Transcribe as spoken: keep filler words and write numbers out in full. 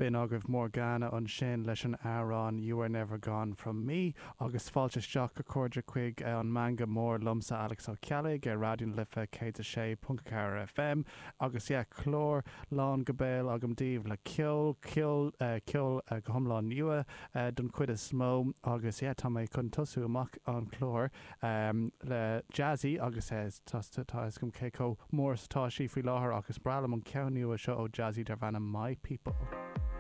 B'in agaibh Morgana ansin leis an amhrán You Are Never Gone From Me agus fáilte isteach a chairde chuig an Meangadh Mór liomsa Alex Ó Ceallaigh ar Raidió na Life céad a sé ponc ceathair FM agus yeah, clár lán go béal agam daoibh le ceol ceol ceol go hiomlán nua don chuid is mó agus yeah, tá mé chun tosú amach an clár um, le Jazzy agus tá agam cé chomh mór atá sí faoi láthair agus breá liom an ceann nua seo ó Jazzy darb ainm My People.